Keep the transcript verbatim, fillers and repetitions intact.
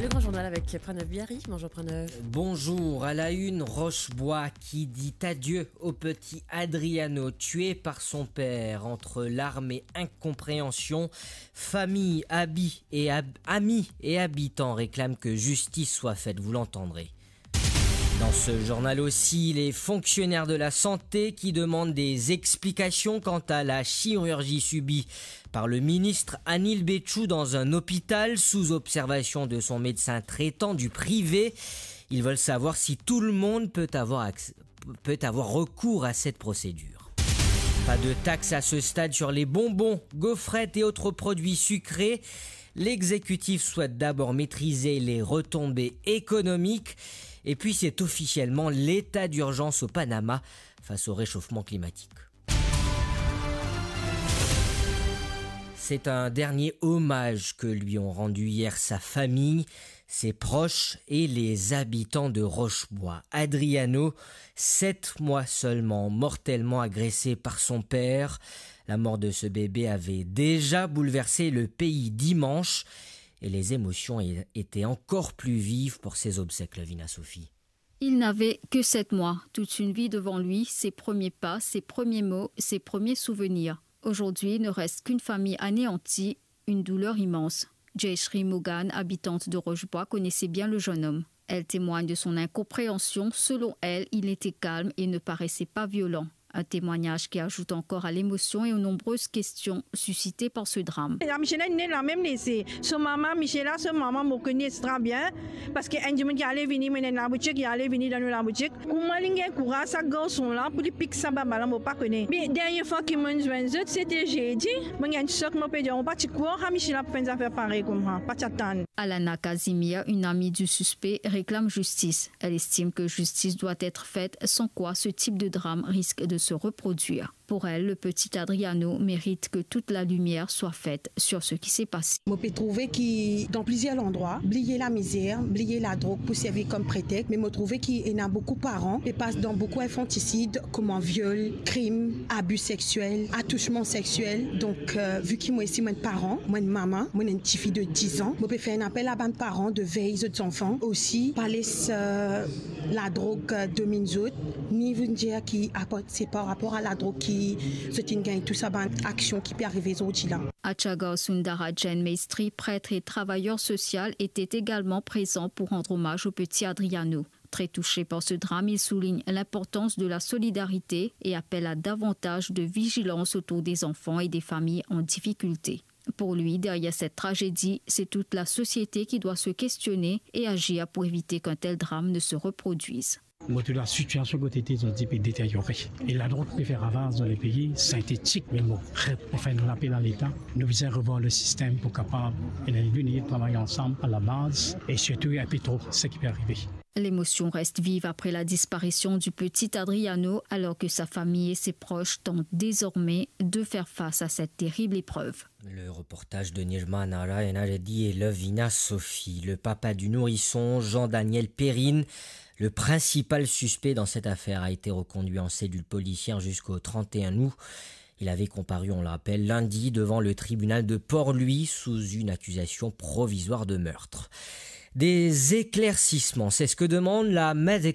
Le grand journal avec Pranav Bihari. Bonjour Pranav. Bonjour. À la une, Roche-Bois qui dit adieu au petit Adriano, tué par son père entre larmes et incompréhension. Famille, habits et hab- amis et habitants réclament que justice soit faite, vous l'entendrez. Dans ce journal aussi, les fonctionnaires de la santé qui demandent des explications quant à la chirurgie subie par le ministre Anil Bechoo dans un hôpital sous observation de son médecin traitant du privé. Ils veulent savoir si tout le monde peut avoir acc- peut avoir recours à cette procédure. Pas de taxe à ce stade sur les bonbons, gaufrettes et autres produits sucrés. L'exécutif souhaite d'abord maîtriser les retombées économiques. Et puis, c'est officiellement l'état d'urgence au Panama face au réchauffement climatique. C'est un dernier hommage que lui ont rendu hier sa famille, ses proches et les habitants de Roche-Bois. Adriano, sept mois seulement, mortellement agressé par son père. La mort de ce bébé avait déjà bouleversé le pays dimanche et les émotions é- étaient encore plus vives pour ses obsèques, Lovina Sophie. Il n'avait que sept mois. Toute une vie devant lui, ses premiers pas, ses premiers mots, ses premiers souvenirs. Aujourd'hui, il ne reste qu'une famille anéantie, une douleur immense. Jayshri Mogan, habitante de Roche-Bois, connaissait bien le jeune homme. Elle témoigne de son incompréhension. Selon elle, il était calme et ne paraissait pas violent. Un témoignage qui ajoute encore à l'émotion et aux nombreuses questions suscitées par ce drame. Michela inn la mem lese. So mama, Michela, so mama, mo kone extra bien. Parski enn dimoun ki ale vini, mo ena laboutik, ki ale vini dan nou laboutik. Kouma li gagn kouraz sa garson la pou li pik sa baba la, mo pa kone. Me dernie fwa ki mo'nn zwenn zot, sete zedi. Mo gagn sok, mo pe dir, mo pa ti krwar, ha, Michela pou fer enn zafer parey koumsa, pa ti atann. Alana Casimir, une amie du suspect, réclame justice. Elle estime que justice doit être faite, sans quoi ce type de drame risque de se reproduire. Pour elle, le petit Adriano mérite que toute la lumière soit faite sur ce qui s'est passé. Mo pe trouve ki dan plizier landrwa, bliye lamizer, bliye ladrog pou servi kom pretex, me mo trouve ki ena boukou paran pe pas dan boukou infantisid, kouma viol, krim, abi sexiel, atousman sexiel. Donk, euh, vi ki mo isi mo enn paran, mo enn mama, mo ena enn tifi de diz an, mo pe fer enn apel a bann paran de vey zot zanfan, osi pa les, euh, ladrog, euh, dominn zot, ni vinn dir ki aport se par rapor a ladrog ki zot inn gagn tou sa bann aksion ki pe arive zordi la. Achagar Sundara Jain Maistry, prêtre et travailleur social, était également présent pour rendre hommage au petit Adriano. Très touché par ce drame, il souligne l'importance de la solidarité et appelle à davantage de vigilance autour des enfants et des familles en difficulté. Pour lui, derrière cette tragédie, c'est toute la société qui doit se questionner et agir pour éviter qu'un tel drame ne se reproduise. Mo trouv lasitiasion kot ete zordi pe deteryore. E ladrog pe fer ravaz dan lepei, sintetik, me mo, mo fer enn lapel a Leta. Nou bizin revwar le sistem pou kapav ena enn linite, travay ansam a labaz e sirtou inpe tro seki pe arive. L'émotion reste vive après la disparition du petit Adriano, alors que sa famille et ses proches tentent désormais de faire face à cette terrible épreuve. Le reportage de Nirmala Enaredi et Lovina Sophie. Le papa du nourrisson, Jean-Daniel Perrine, le principal suspect dans cette affaire, a été reconduit en cellule policière jusqu'au trente et un août. Il avait comparu, on le rappelle, lundi devant le tribunal de Port-Louis sous une accusation provisoire de meurtre. Des éclaircissements, c'est ce que demande la Medical